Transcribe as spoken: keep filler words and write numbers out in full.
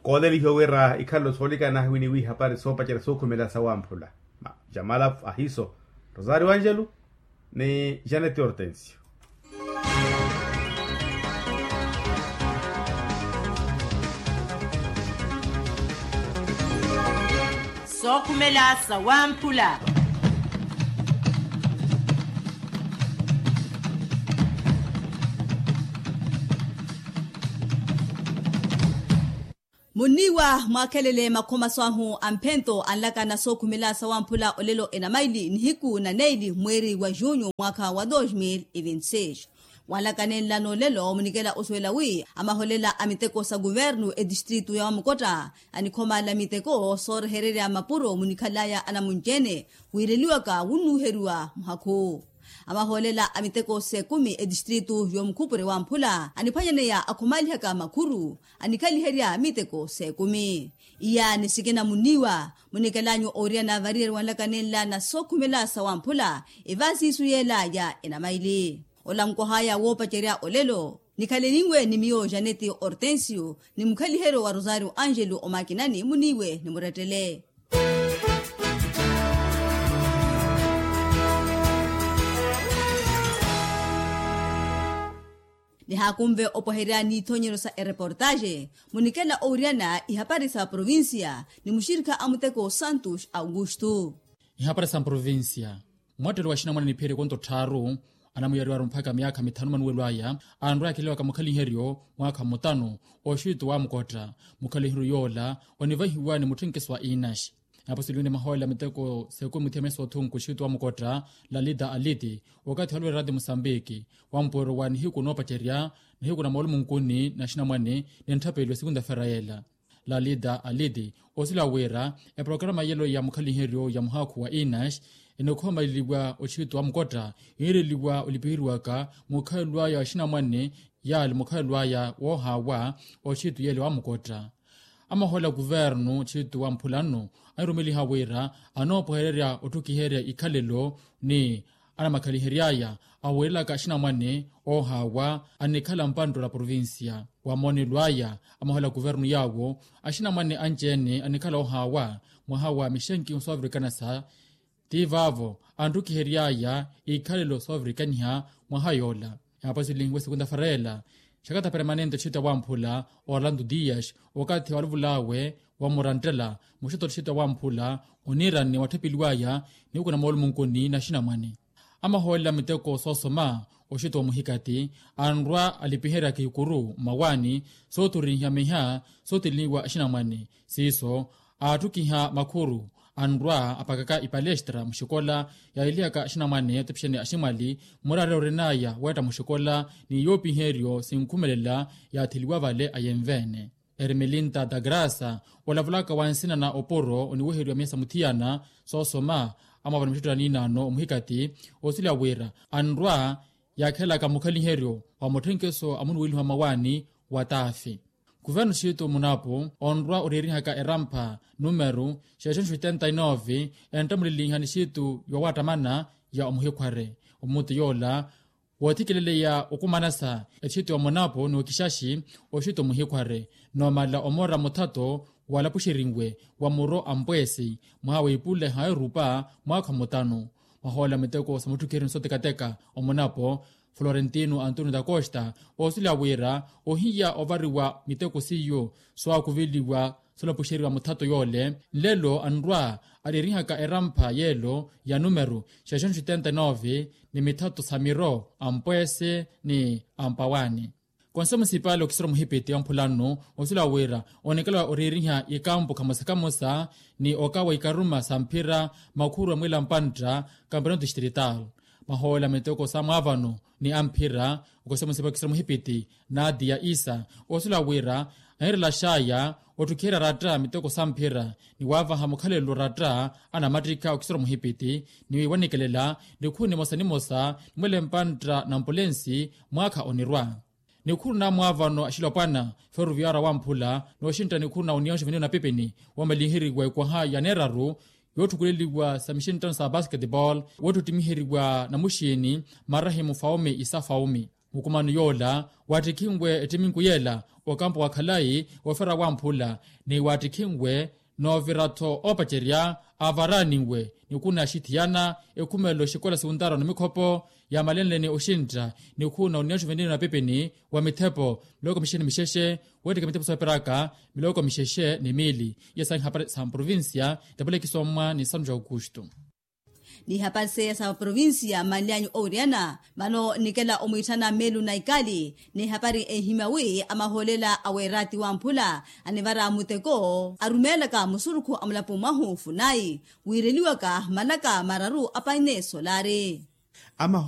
Koolelihiwa wira ikhalelo soolikana winiwi hapari soopacerya sookhumela sawamphula. Jamala ahiso, rosario angelo, ni janete hortensio. Sookhumela sawamphula. Munniiwa mwaakhelele makhomaso ahu a mphento anlakana sookhumela sawamphula olelo enamaili nihiku na neili mweeri wa junyu mwaakha wa dos mil e vinti seis. Wanlakanenla n'olelo munikela osuwela wi amaholela a miteko sa kuvernu etistritu ya wamukotta anikhomala miteko soorehererya mapuro munikhalaya anamunci-ene wiireliwaka wunnuheriwa muhakhu. Amahoolela a miteko s'ekumi etistritu y'omukhupure wamphula aniphwanyaneya akhomalihaka makhuru anikhaliherya miteko s'ekumi. Iya ni sikina munniiwa munikelanyu ooriyana variyari wanlakanenla na sookhumela sawamphula. Evaasiisu yeelaya enamaili ola nkohaya woopacerya olelo. Nikhaleliwe ni miyo janeti hortensio ni mukhaliheryo wa rosario angelo omakinani muniiwe ni murettele. Nihaakunve opweherya n'ithonyeryo sa ereportaxe munikela owiriyana ihapari sa provincia ni muxirikha a muteko santos augusto. Ihapari sa mprovincia. Mwattelo wa axinamwane niphiherye konto tthaaru anamuyariwaru mpakha myaakha mithanu manuwelo aya anrwa yakhilewaka mukhaliheryo mwaakha mutanu oxitu wa mukotta. Mukhaliheryo yoola onivahiwa ni mutthenkeso wa inaxi. Apo siliwene mahoolela miteko s'ekumi muthiya meso othunku oxitu wa mukotta lalita aliti okathi halwera ti musambiki wampuwero wa nihiku noopacerya nihiku na moolumunkunni na axinamwane ni ntthapeliwa sikunta ferayela. Lalita aliti osila wira eprokarama yelo ya mukhaliheryo ya muhaakhu wa inaxi enikhomaleliwa oxitu wa mukotta yiireliwa olipiheriwaka mukhalelo aya wa axinamwane yaali mukhalelo aya woohaawa oxitu yele wa mukotta. Amahoolela kuvernu oxitu wa mphula nno anirumeliha wira anoopwehererya otthukiherya ikhalelo ni anamakhaliheryaya awiirelaka axinamwane oohaawa anikhala mpanttula provincia. Wa moonelo aya amahoolela kuvernu yaawo axinamwane anci-ene anikhala oohaawa mwaha wa mixenki soovirikana sa ti vaavo anttukiheryaya ikhalelo soovirikaniha mwaha yoola. Apo silihiwe sikunta ferayela xakata permanente oxitu ya wamphula orlando dias okathi waluvulaawe wa muranttela muxito oxitu ya wamphula oniiranne watthapeliwaya nihiku na moolumunkunni na axinamwane. Amahoolela miteko soosoma oxito wa muhikati anrwa alipiheryaka ikuru mmawaani soothurihiwa miha soothiliniwa axinamwane siiso aattukiha makhuru anrwa apakaka ipalestra muxikola yaahilihaka axinamwane otepixene aximwali muraari orinaya weetta muxikola ni yoopiheryo sinkhumelela yaatheliwa vale ayenve-ene. Ermelinta da grasa olavulaka wa nsina na opuro oniweheriwa miya sa muthiyana soosoma amavana muxitto na niinaano omuhikati oosila wira anrwa yaakhelaka mukhaliheryo wa mutthenkeso a munuweliho a mawaani wa taafi. Kuvernu xitu munapu onrwa oreerihaka erampha numeru xeexonxo oitenta e nove enttamulilinha ni xitu yoowattamana ya omuhikhware omuti yoola woothikileleya okumanasa etxitu ya munapo n'okixaxi oxito muhikhware noomala omora muthato walapuxerinwe wa muro a mpweesi mwaha w'ipuleha erupa mwaakha mutanu. Mwahoolela miteko sa mutthukiheryo ni sotekateka omunapo florentino antonio da costa oosila wira ohiya ovariwa miteko seiyo swaakuveliwa solapuxeriwa muthato yoole nlelo anrwa areerihaka erampha yeelo ya numeru xeexonxo oitenta e nove ni mithato sa miro a mpweese ni a mpawaani. Konse musipali okisira omuhipiti wa mphula nnu osila wira onikela oreeriha ikampu khamosa khamosa ni okawa ikaruma sa mphira makhuru a mwila mpantta kampeonato distrital. Mahoolela miteko sa mwaavano ni a mphira okosemusipa okisira muhipiti nadia isa osila wira anirela xaya ottukhiherya ratta miteko sa mphira ni waavaha mukhalelo ratta anamattikha okisira muhipiti ni wanikelela nikhuni mosa ni mosa ni mwele mpantta na mpulensi mwaakha onirwa. Nikhuru na mwaavano axilopwana feruviara wamphula nooxintta nikhuru na union juvenil na pipini woomalinheriwa ekwaha ya neeraru yootthukuleliwa sa mixinttano sa basketball woottutimiheriwa na muxiini marahimu faume isa faume. Mukumano yoola waattikhinwe ettiminku yeela okampo wa khalayi ofera wamphula ni waattikhinwe noovira-tho oopacerya avaraaninwe ni khuna axithiyana ekhumelo xikola siwuntaaro na mikhopo yaamalenleni oxintta ni khuna oniya oxuvenlini na pipini wa mithepo miloko mixexe ni mixexe. Weettika mithepo sooperaka miloko mixexe ni miili. Iya saahihapari sa provincia tapulekisomwa ni santu ja aukustu. Ni hapari seiya sa provincia manlyanyu owiriyana vano nikela omwiitthana meelu na ikali ni hapari enhimya wi amahoolela a weeraati wamphula anivara muteko arumeelaka musurukhu a mulapo mwahu funayi wiireliwaka malaka mararu a paine solari. Amaho